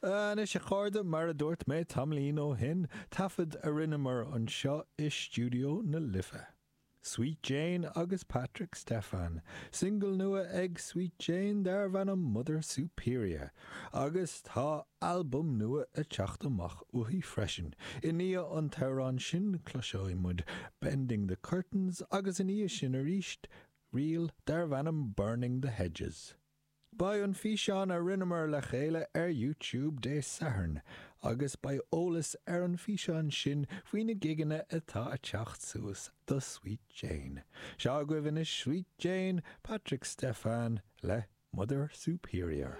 Anois a chairde, mar a dúirt mé tamaillín ó shin, taifead a rinneamar anseo i Stiúideo na Life. Sweet Jane agus Patrick Stefan. Singil nua ag Sweet Jane darbh ainm Mother Superior. Agus tá albam nua ag teacht amach uaithi freisin. I ndiaidh an t-amhrán sin cloisfidh muid Bending the Curtains agus i ndiaidh sin arís ríl darbh ainm Burning the Hedges. Beidh an físeán a rinneamar le chéile ar YouTube Dé Sathairn agus beidh eolas ar an bhfíseán sin faoi na gigeanna atá a teacht suas do Sweet Jane. Seo agaibh anois Sweet Jane, Patrick Stefan le Mother Superior.